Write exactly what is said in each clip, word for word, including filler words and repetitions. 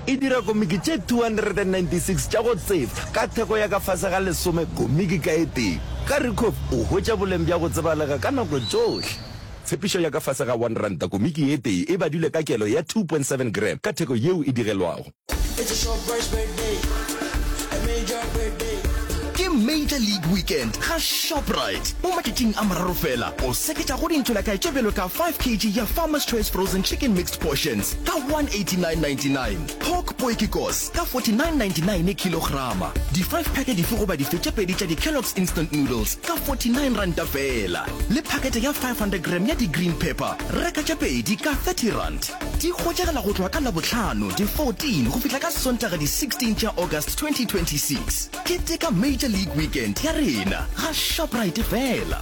E dira komiki tše two hundred and ninety six tša go tsefa ka theko ya ka fase ga lesome komiki ka e tee. Ka Ricoff o hwetša boleng bja go tsebalega ka nako tšohle. Tshepišo ya ka fase ga one ranta komiki e tee e badilwe ka kelo ya two point seven gram ka theko yeo e digelwago. It's a Shoprite's birthday, a major birthday. Ke Major League Weekend ga Shoprite. Mo matšatšing a mararo fela, o seketša go dintšolakae tše bjalo ka five kg ya Farmer's Choice Frozen Chicken Mixed Portions ka one eighty-nine ninety-nine, Pork Potjiekos ka forty-nine ninety-nine kilograma, di five pack dife goba dife tše pedi tša di-Kellogg's Instant Noodles ka forty-nine ranta fela, le phakete ya five hundred gram ya di-green pepper, reka tše pedi ka thirty rand. Di hwetšagala go tloga ka Labohlano di fourteen go fihla ka Sontaga di sixteen tša August twenty twenty-six. Keteka Major League Weekend ya rena ga Shoprite fela.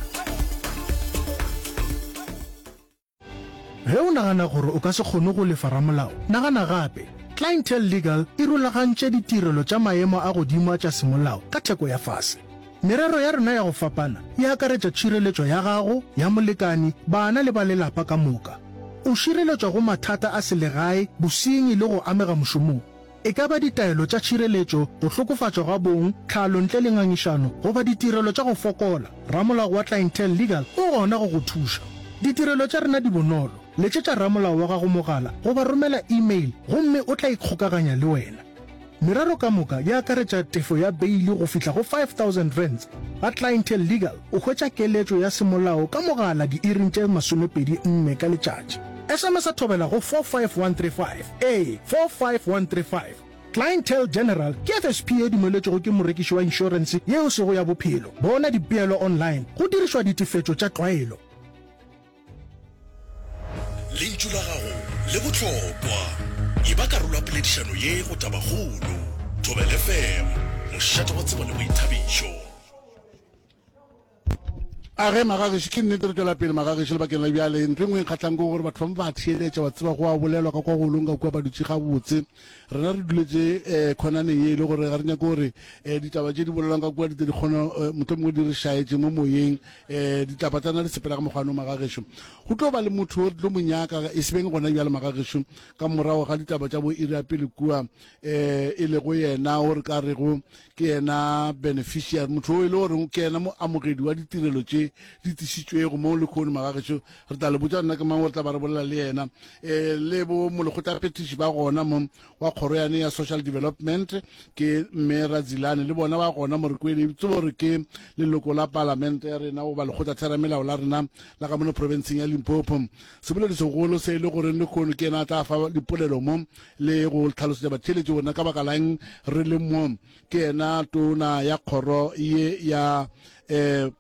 Ge o nagana gore o ka se kgone go lefa ramolao, nagana gape. Clientele Legal e rulagantše ditirelo tša maemo a godimo a tša semolao ka theko ya fase. Merero ya rena ya go fapana e akaretša tšhireletšo ya gago, ya molekani, bana le ba lelapa ka moka. O šireletšwa go mathata a selegae, bosenyi le go amega mošomong. E ka ba ditaelo tša tšhireletšo, go hlokofatšwa ga bong, tlhalo ntle le ngangišano, goba ditirelo tša go fokola, ramolao wa Clientele Legal o gona go go thuša. Ditirelo tša rena di bonolo, letšetša ramolao wa gago mogala goba romela email gomme o tla ikgokaganya le wena. Merero ka moka e akaretša tefo ya beili go fihla go five thousand rands. Ga Clientele Legal o hwetša keletšo ya semolao ka mogala diiring tše masomepedi nne ka letšatši. S M S a thobela go four five one three five, ee, four five one three five. Clientele General ke F S P e dumeletšwego ke morekiši wa inšorense yeo e sego ya bophelo. Bona dipeelo online go dirišwa ditefetšo tša tlwaelo. Lentšu la gago le bohlokwa. Eba karolo ya poledišano ye go Tabakgolo. Thobela F M, mošate wa tsebo le boithabišo. A ge magagešo, ke nnete re tšwela pele magagešo lebakeng la bjale. Ntho e nngwe e nkgahlang ke gore batho ba ba theeletša, wa tseba go a bolelwa ka kwa golong ka kua ba dutše gabotse. Rena re duletše, eh, khonaneng ye e le gore ga re nyake gore, eh, ditaba tše di bolelwang ka kua di tle di kgone, eh, mohlomongwe di re šaetše mo moyeng. Eh, ditaba tša rena di sepela ka mokgwa no magagešo. Go tlo ba le motho o re tlo mo nyaka, e se beng gona bjale magagešo, ka morago ga ditaba tša bo iri ya pele kua, eh, e lego yena o re ka rego ke yena beneficiary, motho o e le goreng ke yena moamogedi wa ditirelo tše di tlišitšwego mo lehono magagešo. Re tla le botša nna ke mang o re tla ba re bolela le yena. Eh, le bo molekgotlaphethiši ba gona mo wa kgoro yane ya social development ke mme Radzilane, le bona ba gona mo re kwele tsebo gore ke leloko la palamente ya rena goba lekgotlatheramelao la rena la ka mono provinceng ya Limpopo. Seboledi segolo se e le goreng lehono ke yena a tla fa dipolelo mo le go tlhalosetša batheeletši gore na ka baka la eng re le mo. Ke yena tona ya kgoro ye ya, eh,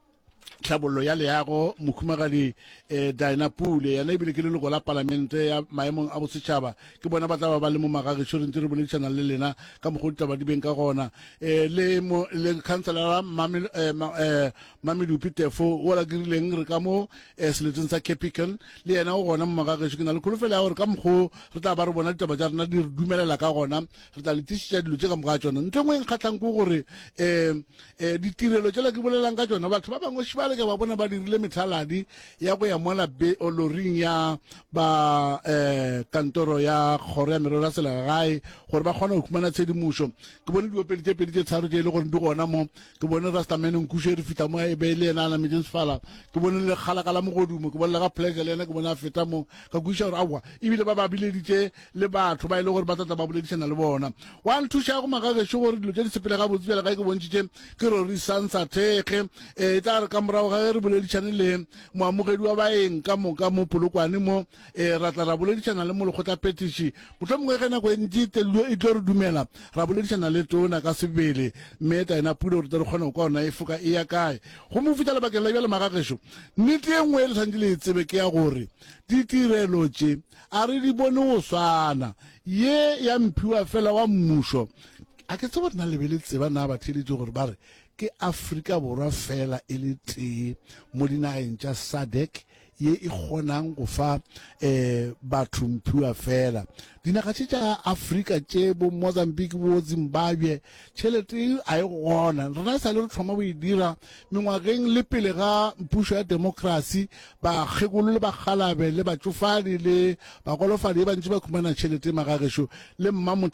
tlhabollo ya leago, mohumagadi, eh, Dinah Pule. Yena ebile ke leloko la palamente ya maemong a bosetšhaba. Ke bona ba tla ba ba le mo magagešo, re ntse re boledišana le lena ka mokgwa o ditaba di beng ka gona. Eh, le mo, le councillora Mame, eh, ma, eh, Mamedupi Tefo o la ke rileng re ka mo, eh, seleteng sa Capricorn, le yena o gona mo magagešo. Ke na le kholofelo ya gore ka mokgwa o re tla ba re bona ditaba tša rena di re dumelela ka gona, re tla le tlišetša dilo tše ka moka ga tšona. Ntho e nngwe e nkgahlang ke gore, eh, eh, ditirelo tšela ke bolelang ka tšona, batho ba bangwe šibale ke ba bona ba dirile methaladi ya go ya mola be-, o loring ya ba, eh, kantoro ya kgoro ya merero ya selegae gore ba kgone go khumana tshedimošo. Ke bone diopedi tše pedi tše tharo tše e le gore di gona mo. Ke bone Rastaman Nkuše re fihla mo e be e le yena a nametšeng sefala. Ke bone le kgalaka la mogodumo, ke bone le ga Pleasure le yena ke bone a feta mo. Ka kwešiša gore aowa, ebile ba ba bileditše le batho ba e le gore ba tla tla ba boledišana le bona. Wa nthuša go magagešo gore dilo tše di sepele gabotse bjale ga ke bontšhitše ke Rori Sansa Thekge. Eh, e tla re ka morago ga ge re boledišane le moamogedi wa baeng ka moka mo Polokwane mo, eh, ra tla ra boledišana le molekgotlaphethiši. Mohlomongwe ge nako e ntši e tlo, e tlo re dumela, ra boledišana le tona ka sebele, mme Taena Pule, gore tle re kgone go kwa ona e foka e ya kae. Go mo fihla lebakeng la bjale magagešo, nnete e nngwe e le swanetše le e tsebe ke ya gore ditirelo tše a re di bone go swana. Ye ya mphiwa fela wa mmušo, a ke tsebe gore na le be le tseba na batheeletši gore ba re ke Afrika Borwa fela e le tee mo dinageng tša SADC ye e kgonang go fa, eh, batho mphiwa fela. Dinaga tše tša Afrika tše bo Mozambique, bo Zimbabwe, tšhelete e a e gona. Rena e sa le re thoma go e dira mengwageng le pele ga pušo ya demokrasi, bakgekolo le bakgalabe le batšofadi le bagolofadi e bantši ba khumana tšhelete magagešo le mmamotla.